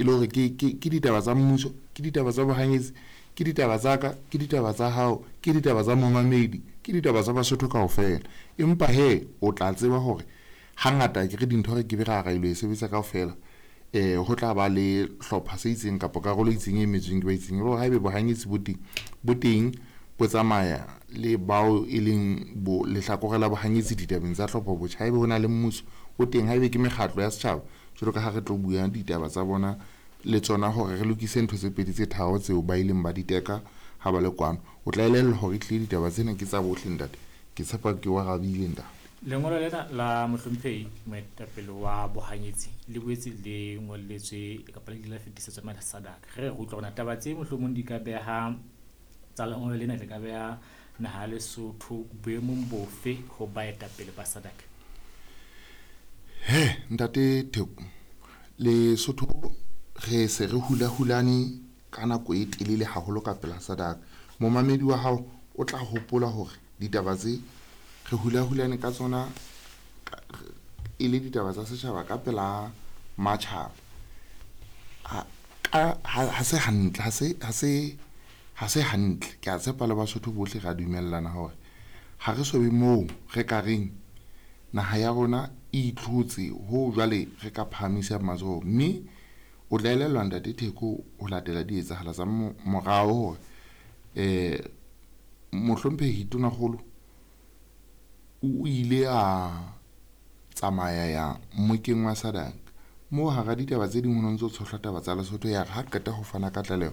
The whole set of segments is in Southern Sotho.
e le hore ke ditaba tsa mmuso, ke ditaba tsa bohanyetsi, ke ditaba tsa ka, ke ditaba tsa hao, ke ditaba tsa momamedi, ke ditaba tsa Basotho kaofela. Empa he o tla tseba hore hangata ke re dintho re ke be ra ra ilo e sebetsa kaofela. Ho tla ba le hlopha se itseng kapa karolo e itseng e emetsweng ke ba itseng. E le hore haebe bohanyetsi bo teng bo tsamaya le bao e leng bo lehlakore la bohanyetsi ditabeng tsa tlhopho botjha. Haebe ho na le mmuso o teng, haebe ke mekgatlo ya setjhaba jwalo ka ha re tlo bua ditaba tsa bona le tsona hore re lokise ntho tse pedi tse tharo tseo ba ileng ba di teka ha ba le kwano. O tla elellwa hore ehlile ditaba tsena ke tsa bohle ntate. Ke tshepa ke o arabile ntate. Lengolo lena la mohlomphehi moetapele wa bohanyetsi le boetse le ngolletswe kapa le ile la fetisetswa mane SADC. Re re utlwa hore taba tse mohlomong di ka beha tsa lengolo lena le ka beha naha ya Lesotho boemong bofe ho baetapele ba SADC? He ntate Theko, Lesotho re se re hula-hulane ka nako e telele haholo ka pela SADC. Momamedi wa hao o tla hopola hore ditaba tse re hula-hulane ka tsona e le ditaba tsa setjhaba ka pela matjhaba. Ha se hantle, ha se hantle. Ke a tshepa le Basotho bohle ra dumellana hore ha re so be moo re ka reng naha ya rona e itlhotse ho jwale re ka phahamisa matsoho. Mme o tla elellwa ntate Theko ho latela dietsahala tsa morao hore mohlomphehi Tonakgolo o ile a tsamaya ya mmokeng wa SADC moo hara ditaba tse ding ho no ntso tshohlwa taba tsa Lesotho. Ya re ha qeta ho fana ka tlaleho,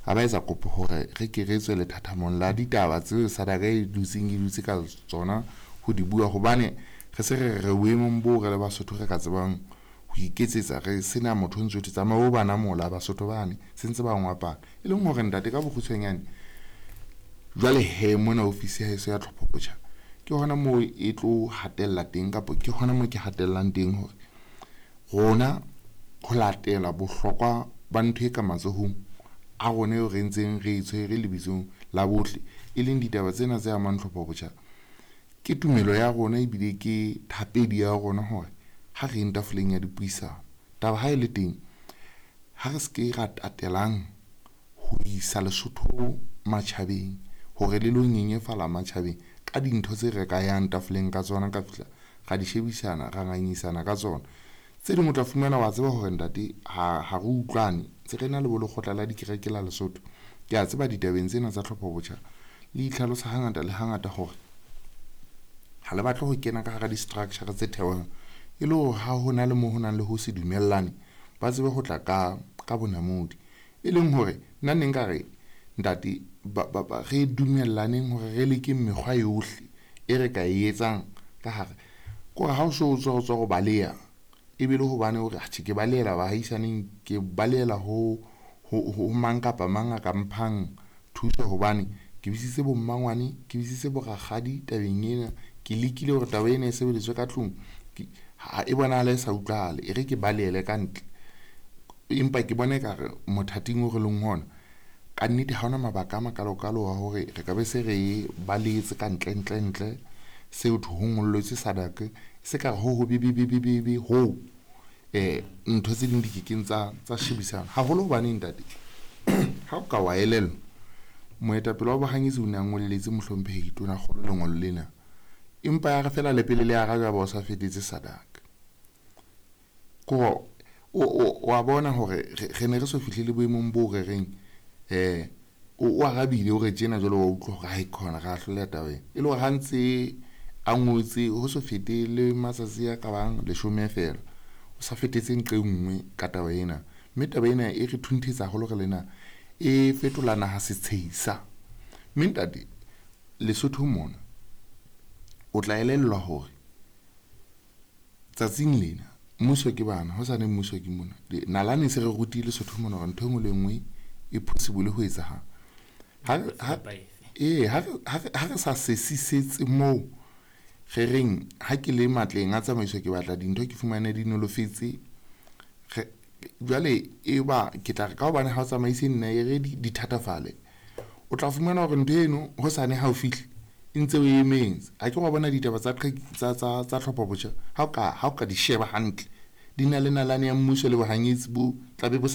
a ba etsa kopo hore re ke re tswe lethathamong la ditaba tseo SADC e dutseng e dutse ka tsona ho di bua, hobane re se re re boemong boo re le Basotho re ka tsebang ho iketsetsa, re sena motho o ntso thwe tsamaya o bana mola Basotho bane se ntse ba ngwapana. E leng hore ntate ka bokgutshwanyane jwale he mona ofisi ya heso ya tlhopho botjha ke hona moo e tlo hatella teng, kapa ke hona moo ke hatellang teng hore rona ho latela bohlokwa ba ntho e ka matsohong a rona eo re ntseng re e tshwere lebitsong la bohle, e leng ditaba tsena tse amang tlhopho botjha. Ke tumelo ya rona ebile ke thapedi ya rona hore ha re eng tafoleng ya dipuisano, taba ha e le teng ha re se ke ra tatelang ho isa Lesotho matjhabeng hore le lo nyenyefala matjhabeng ka dintho tse re ka yang tafoleng ka tsona, ka fihla ra di shebisana, ra ngangisana ka tsona. Tse ding o tla fumana wa tseba hore ntate ha re utlwane, ntse re na le bo lekgotla la dikereke la Lesotho. Ke a tseba ditabeng tsena tsa tlhopho botjha le itlhalosa hangata le hangata hore ha le batle ho kena ka hara di-structure tse theohang, e le hore ha ho na le moo ho nang le ho se dumellane ba tsebe ho tla ka bonamodi. E leng hore nna ne nka re ntate re dumellaneng hore re lekeng mekgwa yohle e re ka e etsang ka hare. Ke hore ha o so o tswa o tswa ho baleha, ebe le hobane hore atjhe ke balehela baahisaneng, ke balehela ho mang kapa mang a ka mphang thuso, hobane ke bitsitse bo mmangwane, ke bitsitse bo rakgadi tabeng ena, ke lekile hore taba ena e sebediswe ka tlung, ha e bonahala e sa utlwahale, e re ke balehele ka ntle. Empa ke bona ekare mothating o re leng hona ka nnete ha hona mabaka a makalokalo a hore re ka be se re balehetse ka ntle ntle ntle seo thwe ho ngolletswe SADC, se ka re ho ho be be be be be be ho ntho tse ding di kekeng tsa shebisana haholo. Hobane ntate ha o ka wa elellwa, moetapele wa bohanyetsi o ne a ngolletse mohlomphehi Tonakgolo lengolo lena, empa ya re fela le pele le arajwa ba o sa fetetse SADC. Ko o a bona hore re ne re so fihlele boemong boo re reng o arabile o re tjena jwale wa utlwa hore ha e khona ra hloleha taba ena. E le hore ha ntse a ngotse ho so fete le matsatsi a ka bang 10 feela, o sa fetetse nqe nngwe ka taba ena. Mme taba ena e re thunthetsa haholo re lena, e fetola naha setsheisa. Mme ntate Lesotho mona o tla elellwa hore tsatsing lena mmuso ke bana, ho sane mmuso ke mona. Nalane se re rutile Lesotho mona hore ntho e nngwe le nngwe e possible ho etsahala. Ha re sa sesisetse moo re reng ha ke le matleng a tsamaiso ke batla dintho ke fumane di nolofetse, jwale e ba ke tla re ka hobane ha o tsamaise nna e re di thatafale, o tla fumana hore ntho eno ho sane ha o fihle e ntse o emetse. Ha ke wa bona ditaba tsa tsa tlhopho botjha, ha o ka di sheba hantle di na le nalane ya mmuso le bohanyetsi bo tlabe bo sa